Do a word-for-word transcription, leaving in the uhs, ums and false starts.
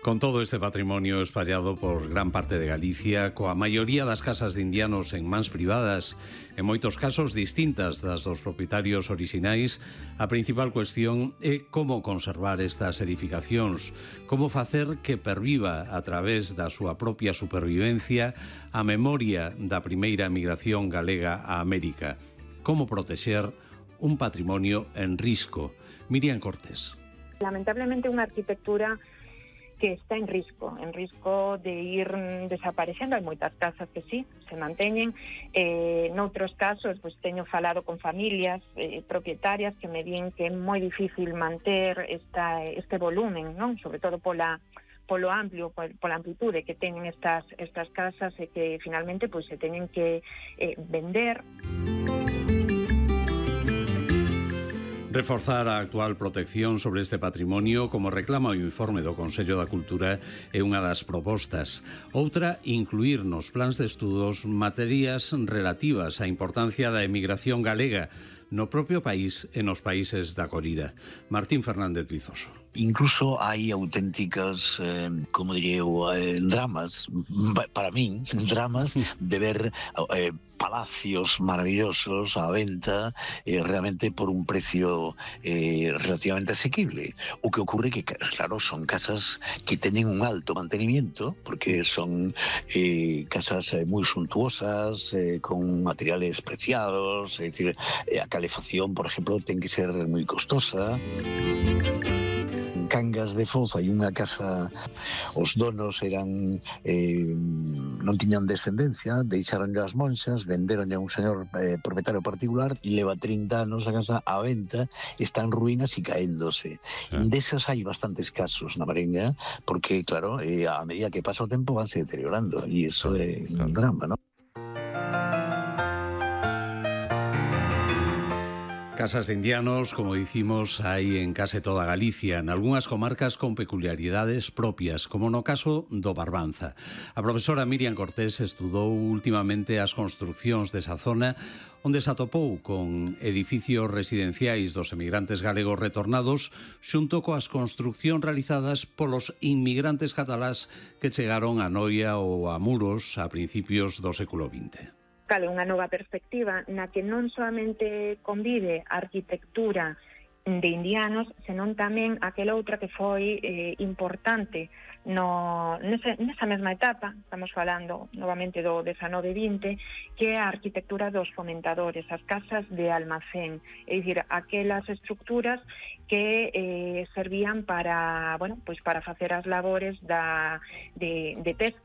Con todo este patrimonio espallado por gran parte de Galicia, coa maioría das casas de indianos en mans privadas, en moitos casos distintas das dos propietarios orixinais, a principal cuestión é como conservar estas edificacións, como facer que perviva a través da súa propia supervivencia a memoria da primeira migración galega a América, como protexer un patrimonio en risco. Miriam Cortés. Lamentablemente unha arquitectura que está en risco, en risco de ir desaparecendo. Hai moitas casas que sí, se manteñen. Eh, noutros casos, pues, teño falado con familias eh, propietarias que me din que é moi difícil manter esta, este volumen, non? Sobre todo pola polo amplio, pola amplitude que teñen estas estas casas e que finalmente pues, se teñen que eh, vender. Reforzar a actual protección sobre este patrimonio, como reclama o informe do Consello da Cultura, é unha das propostas. Outra, incluir nos plans de estudos materias relativas á importancia da emigración galega no propio país e nos países da acolida. Martín Fernández Vizoso. Incluso hai auténticas, eh, como diría eu, eh, dramas, para min, dramas de ver eh, palacios maravillosos á venta eh, realmente por un precio eh, relativamente asequible. O que ocurre que, claro, son casas que teñen un alto mantenimiento, porque son eh, casas eh, moi suntuosas, eh, con materiales preciados, é dicir, eh, a calefacción, por exemplo, ten que ser moi costosa. Cangas de Foz hai unha casa, os donos eran eh, non tiñan descendencia, deixaron as monxas, venderon a un señor eh, propietario particular e leva trinta anos a casa á venta, está en ruínas e caéndose. Ah. Desas hai bastantes casos na Marenga, porque claro, eh, a medida que pasa o tempo vanse deteriorando e iso é un drama, non? Casas de indianos, como dicimos, hai en case toda Galicia, en algunhas comarcas con peculiaridades propias, como no caso do Barbanza. A profesora Miriam Cortés estudou últimamente as construcións desa zona, onde se atopou con edificios residenciais dos emigrantes galegos retornados, xunto coas construcións realizadas polos inmigrantes catalás que chegaron a Noia ou a Muros a principios do século vinte. Cale, unha nova perspectiva na que non solamente convive a arquitectura de indianos, senón tamén aquela outra que foi eh, importante no, nese, nesa mesma etapa, estamos falando novamente do dezanove vinte, que é a arquitectura dos fomentadores, as casas de almacén, é dicir, aquelas estructuras que eh, servían para, bueno, pois para facer as labores da, de, de pesca,